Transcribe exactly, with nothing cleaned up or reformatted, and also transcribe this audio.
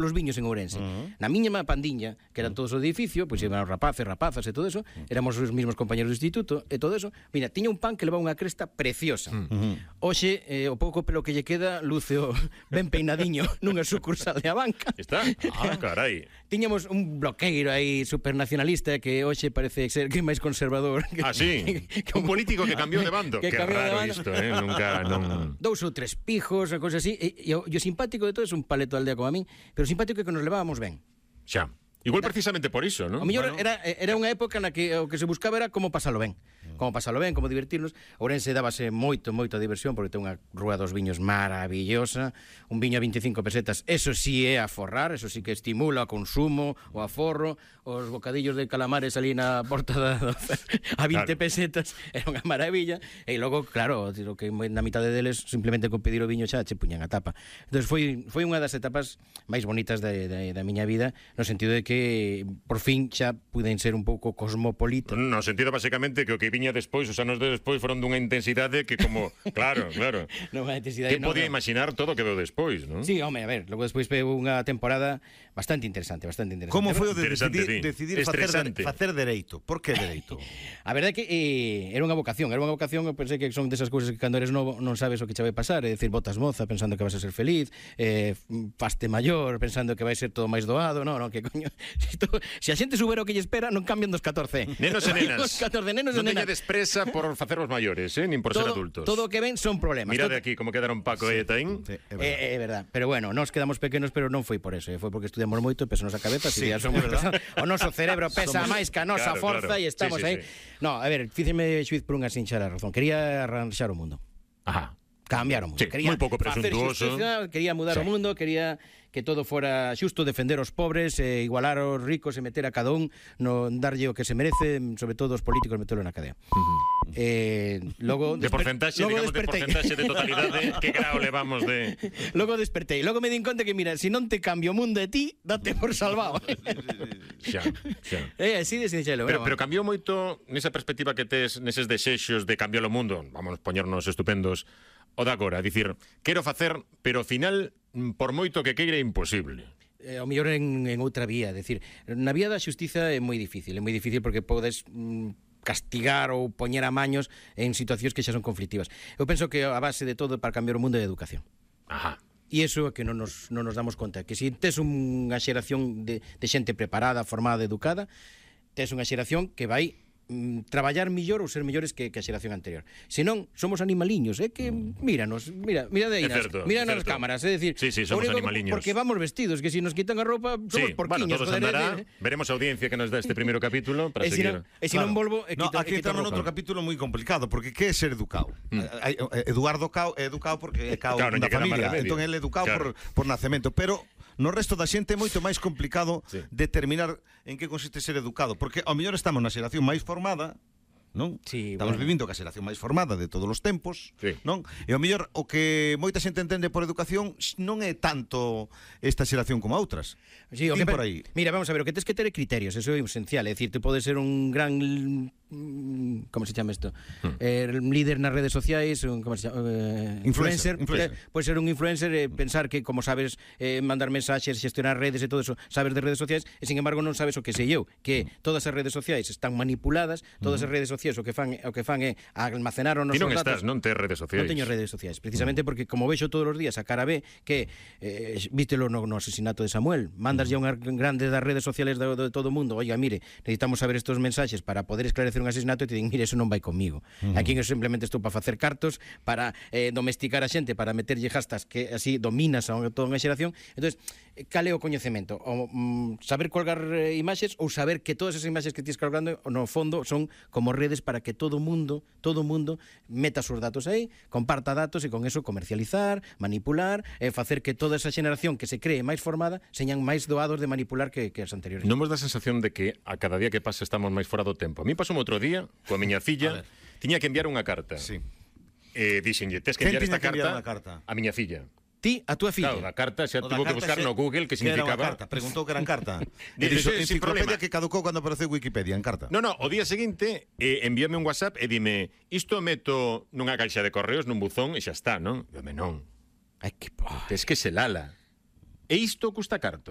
los viños en Ourense. Uh-huh. Na miña pandiña, que eran todos o edificio, pois pues, eran rapaces, rapazas e todo eso, éramos os mismos compañeros do instituto e todo eso. Mira, tiña un pan que levaba unha cresta preciosa. Uh-huh. Hoxe, eh, o pouco pelo que lle queda, luce o ben peinadiño nunha sucursal de a banca. Está? Ah, carai. Tiñamos un bloqueiro aí supernacionalista que hoxe parece ser que é máis conservador. Ah, sí? Que, que un político que cambiou de bando. Que, que raro bando. Isto, eh? Nunca, non... Dous ou tres pijos, a cousa así. E, e, o, e o simpático de todo é un paleto aldea como a min, pero o simpático é que nos levábamos ben. Xa. Igual precisamente por iso, non? O mellor bueno. era, era unha época na que o que se buscaba era como pasalo ben. Como pasalo ben, como divertirnos. Ourense dábase moito, moito a diversión, porque ten unha rúa dos viños maravillosa, un viño a veinticinco pesetas, eso sí é a forrar, eso sí que estimula o consumo, o aforro, os bocadillos de calamares ali na porta da, a vinte claro. pesetas, era unha maravilla, e logo, claro, o que na mitade deles, simplemente con pedir o viño xa che puñan a tapa. Entón foi, foi unha das etapas máis bonitas da, da, da miña vida, no sentido de que por fin xa puden ser un pouco cosmopolita. No sentido, basicamente, que o que viña despois, os anos de despois, foron dunha intensidade que como... Claro, claro. Non unha intensidade... Que podía no, imaginar todo que do despois, non? Sí, home, a ver, logo despois veo unha temporada bastante interesante, bastante interesante. Como foi o de decidir, sí. decidir facer, de, facer dereito? Por que dereito? A verdade é que eh, era unha vocación, era unha vocación, eu pensei que son desas cousas que cando eres novo non sabes o que che vai pasar, é dicir, botas moza pensando que vas a ser feliz, eh, faste maior pensando que vai ser todo máis doado, non, non, que coño... Se a xente subera o que lle espera, non cambian dos catorce. Nenos e nenas. Os catorce nenos e nenas. Non teñades presa por facervos maiores, eh, nin por todo, ser adultos. Todo o que ven son problemas. Mira todo... de aquí como quedaron Paco sí, e Etaín. Sí, é, verdad. É, é verdad. Pero bueno, nos quedamos pequenos, pero non foi por eso, foi porque estudiamos moito e pesanos a cabeza, sí, si somos o noso cerebro pesa somos... máis que a nosa claro, forza e claro. estamos sí, sí, aí. Sí. No, a ver, fíceme xuiz por unha sinxera razón. Quería arranxar o mundo. Ajá. Cambiar o mundo. Sí, quería moi pouco presuntuoso. Quería mudar sí. o mundo, quería que todo fora xusto, defender os pobres, eh, igualar os ricos e meter a cada un, no darlle o que se merece, sobre todo os políticos metelo na cadea. Uh-huh. Eh, logo de porcentaxe, digamos, despertei. de porcentaxe de totalidade, que grau levamos de... Logo despertei, logo me din conta que, mira, se si non te cambio o mundo de ti, date por salvado. xa, xa. É así de sinxelo. Pero, pero cambiou moito nesa perspectiva que tes, neses desexos de cambiar o mundo, vamos poñernos estupendos, o de agora, dicir, quero facer, pero ao final, por moito que queira, é imposible. Eh, o mellor en, en outra vía, decir, na vía da xustiza é moi difícil, é moi difícil porque podes mm, castigar ou poñer a maños en situacións que xa son conflictivas. Eu penso que a base de todo para cambiar o mundo é a educación. Ajá. E iso é que non nos, non nos damos conta, que se tes unha xeración de, de xente preparada, formada, educada, tes unha xeración que vai traballar millor ou ser mellores que, que a xeración anterior. Se non, somos animaliños, é eh, que míranos, mira, mira de aí, mira nas cámaras, é dicir, sí, sí, somos animaliños. Porque vamos vestidos, que se si nos quitan a roupa, somos sí, porquiños. Bueno, todos andará, de... veremos a audiencia que nos dá este primeiro capítulo para e seguir. E se non volvo, no, aquí estamos noutro capítulo moi complicado, porque que é ser educado? Mm. Eduardo Cao é educado porque é cao claro, da familia, entón ele é educado claro. por, por nacemento, pero no resto da xente é moito máis complicado sí. determinar en que consiste ser educado, porque ao mellor estamos na xeración máis formada, non? Sí, estamos bueno. vivindo a xeración máis formada de todos os tempos, sí. non? E ao mellor o que moita xente entende por educación non é tanto esta xeración como a outras. Sí, o que por aí. Mira, vamos a ver, o que tens que ter criterios, eso é esencial, é dicir, te podes ser un gran como se chama isto? Hmm. Eh, líder nas redes sociais, un como se chama, eh, influencer, influencer. Eh, pode ser un influencer e eh, pensar que como sabes eh, mandar mensaxes, xestionar redes e todo eso, sabes de redes sociais, e sin embargo non sabes o que sei eu, que todas as redes sociais están manipuladas, todas as redes sociais o que fan o que fan é almacenar os nosos datos. Ti non estás, non tes redes sociais. Non teño redes sociais, precisamente porque como vexo todos os días a cara B que eh, vístelo no, no asesinato de Samuel, mandas ya unha grande das redes sociales de, de todo o mundo, oiga, mire, necesitamos saber estos mensaxes para poder esclarecer un asesinato, e te din, mire, eso non vai comigo. Uh -huh. Aquí eu simplemente estou para facer cartos, para eh, domesticar a xente, para meterlle jastas que así dominas a toda unha xeración. Entonces, cal é o coñecemento? O, mm, saber colgar eh, imaxes ou saber que todas esas imaxes que tienes colgando no fondo son como redes para que todo o mundo, todo o mundo meta os datos aí, comparta datos e con eso comercializar, manipular e facer que toda esa xeración que se cree máis formada señan máis doados de manipular que, que as anteriores. Non vos dá a sensación de que a cada día que pasa estamos máis fora do tempo? A mí pasou outro día coa miña filla, tiña que enviar unha carta. Sí. Eh, dixenlle, tes que enviar esta carta, carta a miña filla. Ti, a túa filla. Claro, a carta xa tuvo que buscar no Google que significaba. Carta? Preguntou que eran carta. Dixo, enciclopedia que caducou cando apareceu Wikipedia en carta. No, no, o día seguinte eh, envíame un WhatsApp e dime, isto meto nunha caixa de correos, nun buzón e xa está, non? Dime, non. Ai, que... Tes que se lala. E isto custa cartos.